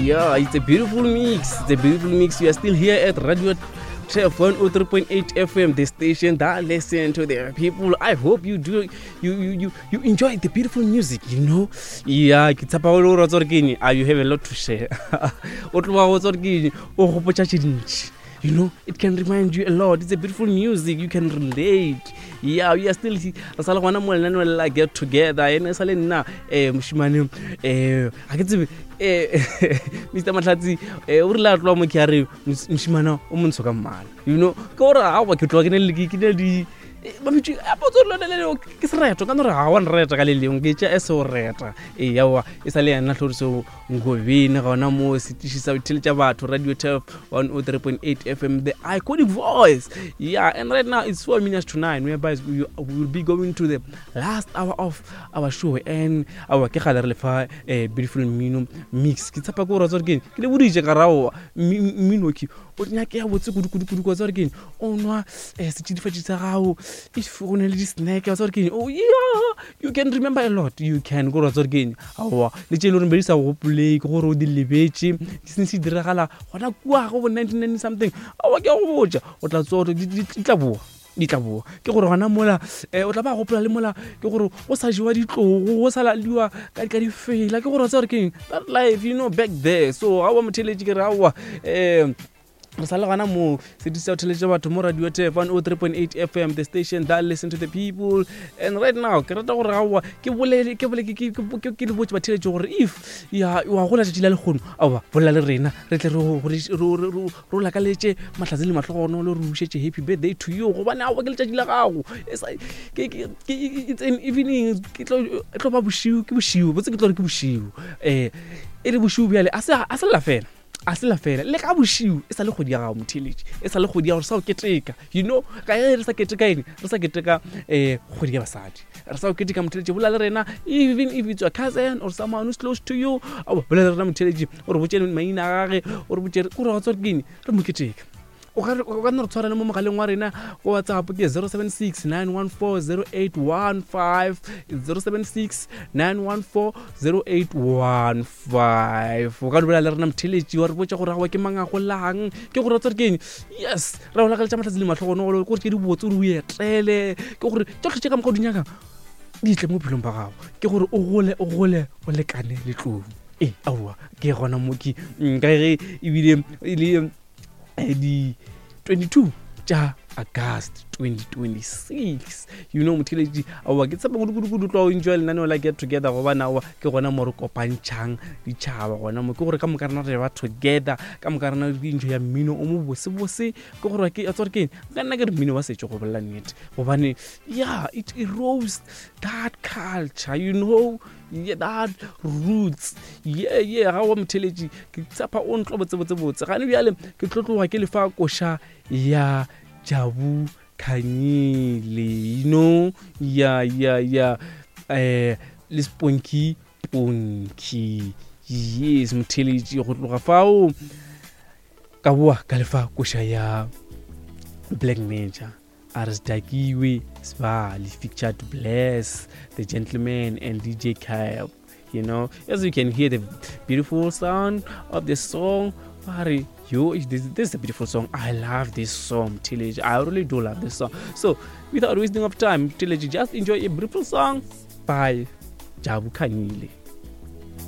Yeah, it's a beautiful mix. It's a beautiful mix. We are still here at Radio Tref 103.8 FM, the station that listen to the people. I hope you do you you you, you enjoy the beautiful music, you know. Yeah, ke tshepa o le gore wa tsore ke eng? Ah, you have a lot to share. O tloga go tsore ke eng? O gopotša tše dintši. You know, it can remind you a lot. It's a beautiful music. You can relate. Yeah, we are still re sa le gona mo lenaneo la get together. Ene sa le nna eh moshimane eh ga ke tsebe eh Mr Mahlatsi eh o rile a tloa mo ke a re moshimane o montsho ka mmala. You know, ke gore a ke tloa ke ne le ke ne di ba bitse a potso le le ke sereto ka no re ga wa nreta ka le lengwe ke tša e se o reta ee yawa e sa le yena tlhoriso Ngobeni gona mo setiši sa botheletša batho Radio Turf 103.8 FM the iconic voice. Yeah, and right now it's 4 minutes to 9 whereby we will be going to the last hour of our show and our ke gale re lefa eh, beautiful mmino mix. Ke tshepa ke gore tsore ke ke le boditše ka raowa mmino ke o nyake ya botse kudu kudu kudu kwa tsore ke o nwa eh, setšidifatši sa gago if go ne le di-snack wa tsore ke oh yeah you can remember a lot you can gore wa tsore ke eng aowa le tše e le goreng be di sa gopolei ke gore o di lebetše di sene se diragala gona kua go bo 1990 something aowa ke a go botša o tla tsoa di tla boa di tla boa ke gore gona mola um o tla ba gopola le mola ke gore go sa jewa ditlogo go sa laliwa ka difela ke gore wa tseba gore ke eng that life you know back there so aowa motheletše ke re aowa um re sa le gana moo sediša o theletše batho mo radio tef 103.8 fm the station that listen to the people and right now ke rata gore aowa ke bolele ke bole ke le botse batheletše gore if ya wa gola tšatši la lekgono aowa bolela le rena re tle re lakaletše mahlatse le mahlogono le re bušetše happy birthday to you gobane aowa ke letšatši la gago it's an evening ke tlo ba bošiu ke bošiu botse ke tlo re ke bošiu um e le bošiu bjale a se lla fela a se la fela le ka bošiu e sa le kgwedi ya gago motheletši e sa le kgwedi ya gore sa o keteka you know ka ge re sa keteka eng re sa keteka um kgwedi ya basadi re sa o keteka motheletši bola le rena even if it's your cousin or someone who's close to you ao bola le rena motheletši o re botse maina a gage o re botse o re wa tswa ke eng re mo keteka o ka nna re tshwara le mo mogaleng wa rena ko whatsapp ke 076 914 0815 076 914 0815 o ka dulela le rena motheletši wa re botša gore awa ke mang a golang ke gore tsare ke eng yes ra go lakaletša mahlatse le matlhogono ke gore ke di botse gore o etele ke gore tsotlhe tše ka moka o di nyakang di tle mo bophelong ba gago ke gore o gole o gole o lekane le tlou ee aowa ke gona mo ke ka ge ebile e le eh, di 22 tša august 2026 you know motheletši aowa ke tshepa kudu-kudu-kudu tloa o enjoy lenaneo la get together gobane aowa ke gona mo re kopantšhang ditšhaba gona mo ke gore ka moka rena re ba together ka moka rena re enjoy ya mmino o mo bosebose ke gore ke tsore ke ka nna ke re mmino wa setšo go bolela nnete gobane yeah it erodes that culture you know yeah, that roots yeah yeah ga wa motheletši ke tshepa o ntlo botsebotsebotse gane bjale ke tlotloga ke lefa koša ya jabu khanyile you know ya ya ya eh le sponky ponky yes motheletši go tloga fao ka boa ka lefa koša ya black nature a re sedakiwe sbali featured bless the gentleman and dj kyle you know as you can hear the beautiful sound of the song Pari, yo this, this is a beautiful song i love this song tillage i really do love this song so without wasting of time tillage just enjoy a beautiful song by jabu khanyile.